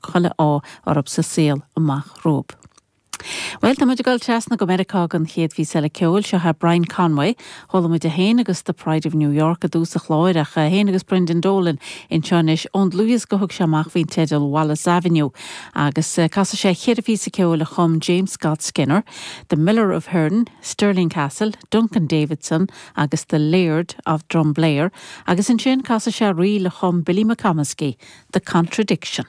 Chuile ádh oraibh sa saol amach romhaibh. Bhuel, tá muid ag dul trasna go Meiriceá don chéad phíosa eile ceoil. Seo é Brian Conway. Chuala muid é féin agus The Pride of New York i dtús an chláir ach é féin agus Brendan Dolan anseo anois ón dlúthdhiosca a thug sé amach faoin teideal Wallace Avenue. Agus casfaidh sé cheithre phíosa ceoil a chum James Scott Skinner, The Miller of Hearne, Stirling Castle, Duncan Davidson agus The Laird of Drumblair agus ansin casfaidh sé ríl a chum Billy McComiskey, The Contradiction.